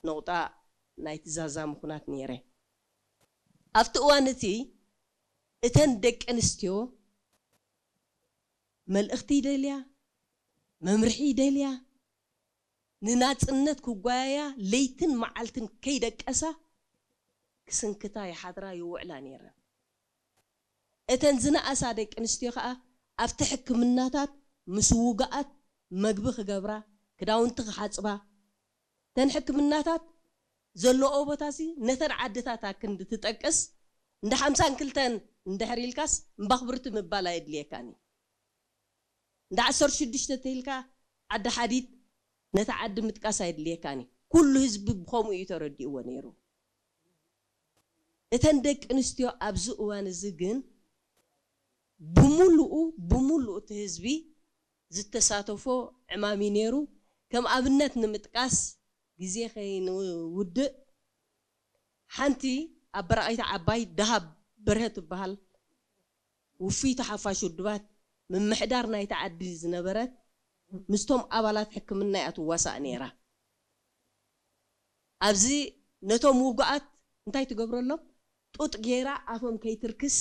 ነቑጣ ናይቲ ዛዛሚ ኩናት ነይረ። ኣብቲ እዋን እቲ እተን ደቂ ኣንስትዮ መልእኽቲ ይደልያ፣ መምርሒ ይደልያ፣ ንናጽነት ክጓየያ ለይትን መዓልትን ከይደቀሳ ክስንክታ ይሓድራ ይውዕላ ነይረን። እተን ዝነኣሳ ደቂ ኣንስትዮ ከኣ ኣብቲ ሕክምናታት ምስ ውጉኣት መግቢ ክገብራ፣ ክዳውንቲ ክሓጽባ፣ እተን ሕክምናታት ዘለኦ ቦታሲ ነተን ዓድታት ኣክንዲ ትጠቅስ፣ እንዳ ሓምሳን ክልተን እንድሕር ኢልካስ እምባኽብርቲ ምባል ኣየድልየካን እዩ። እንዳ ዓሰርተ ሽዱሽተ ተይልካ ዓዲ ሓዲድ ነታ ዓዲ ምጥቃስ ኣየድልየካን እዩ። ኩሉ ህዝቢ ብኸምኡ እዩ ተረዲእዎ ነይሩ። እተን ደቂ ኣንስትዮ ኣብዚ እዋን እዚ ግን ብምሉኡ፣ ብምሉኡ እቲ ህዝቢ ዝተሳተፎ ዕማም እዩ ነይሩ። ከም ኣብነት ንምጥቃስ፣ ግዜ ከይንውድእ፣ ሓንቲ ኣብ በራቒታ ዓባይ ደሃብ በርሀ ትበሃል ውፍይቲ ሓፋሽ ውድባት ምምሕዳር ናይቲ ዓዲ ዝነበረት ምስቶም ኣባላት ሕክምና እያ ትዋሳእ ነይራ። ኣብዚ ነቶም ውጉኣት እንታይ ትገብረሎም? ጡጥ ገይራ ኣፎም ከይትርክስ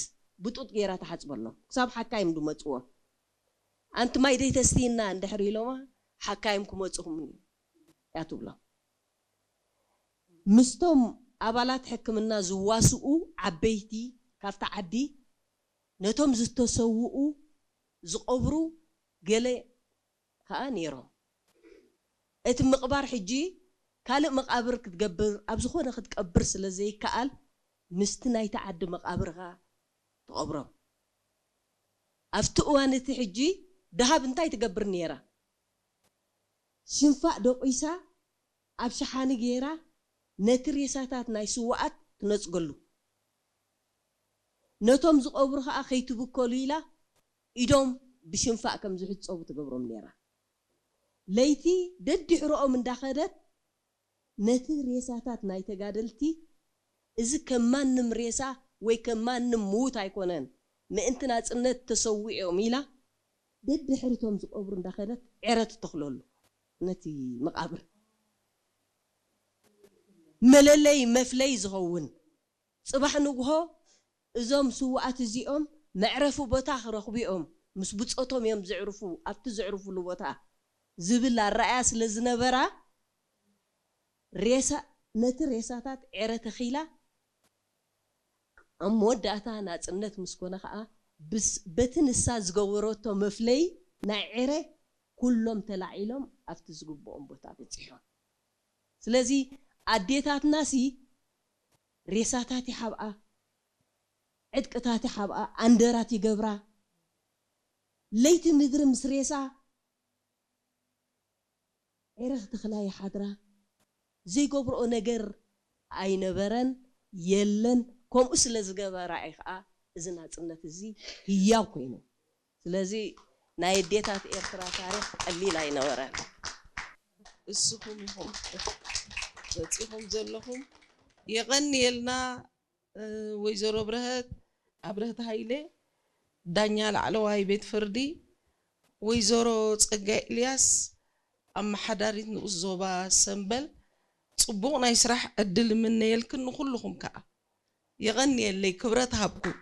ብጡጥ ገይራ ትሓጽበሎም ክሳብ ሓካይም ዝመጽዎም። ኣንቲ ማይ ደይተስትይና እንድሕር ኢሎማ ሓካይም ክመጽኹም እያ ትብሎም። ምስቶም ኣባላት ሕክምና ዝዋስኡ ዓበይቲ ካብቲ ዓዲ ነቶም ዝተሰውኡ ዝቐብሩ ገለ ከኣ ነይሮም። እቲ ምቕባር ሕጂ ካልእ መቓብር ክትገብር ኣብ ዝኾነ ክትቀብር ስለ ዘይከኣል ምስቲ ናይቲ ዓዲ መቓብር ከኣ ትቐብሮም። ኣብቲ እዋን እቲ ሕጂ ደሃብ እንታይ ትገብር ነይራ? ሽንፋእ ደቂሳ ኣብ ሸሓኒ ገይራ ነቲ ሬሳታት ናይ ስውኣት ትነጽገሉ። ነቶም ዝቐብሩ ኸኣ ከይትብከሉ ኢላ ኢዶም ብሽንፋእ ከም ዝሕጸቡ ትገብሮም ነይራ። ለይቲ ደድሕሮኦም እንዳኸደት ነቲ ሬሳታት ናይ ተጋደልቲ፣ እዚ ከም ማንም ሬሳ ወይ ከም ማንም ምዉት ኣይኮነን፣ ምእንቲ ናጽነት ተሰዊኦም ኢላ ደድሕሪቶም ዝቐብሩ እንዳኸደት ዕረ ትተኽለሉ ነቲ መቓብር። መለለይ መፍለይ ዝኸውን ጽባሕ ንግሆ እዞም ስውኣት እዚኦም መዕረፊ ቦታ ክረኽቡ እዮም። ምስ ብጾቶም እዮም ዘዕርፉ። ኣብቲ ዘዕርፉሉ ቦታ ዝብል ኣረኣያ ስለ ዝነበራ ሬሳ ነቲ ሬሳታት ዕረ ተኺላ ኣብ መወዳእታ ናጽነት ምስ ኮነ ከኣ ብስ- በቲ ንሳ ዝገበረቶ መፍለይ ናይ ዕረ ኩሎም ተላዒሎም ኣብቲ ዝግብኦም ቦታ በጺሖም። ስለዚ ኣዴታትናሲ ሬሳታት ይሓብኣ፣ ዕጥቅታት ይሓብኣ፣ ኣንደራት ይገብራ። ለይቲ ምድሪ ምስ ሬሳ ዕረ ክትኽላ ይሓድራ። ዘይገብርኦ ነገር ኣይነበረን፣ የለን። ከምኡ ስለ ዝገበራ እዩ ከዓ እዚ ናፅነት እዚ ህያው ኮይኑ። ስለዚ ናይ ኣዴታት ኤርትራ ታሪኽ ቀሊል ኣይነበረን። እስኹም ኢኹም በፂኹም ዘለኹም። የቐንየልና። እ፣ ወይዘሮ ብርሀት ኣብርህት ሃይለ፣ ዳኛ ላዕለዋይ ቤት ፍርዲ፣ ወይዘሮ ጸጋይ ኤልያስ፣ ኣመሓዳሪት ንኡስ ዞባ ሰምበል፣ ጽቡቕ ናይ ስራሕ ዕድል እምነየልክን ንኹልኹም ከኣ። የቐንየለይ፣ ክብረት ሃብኩም።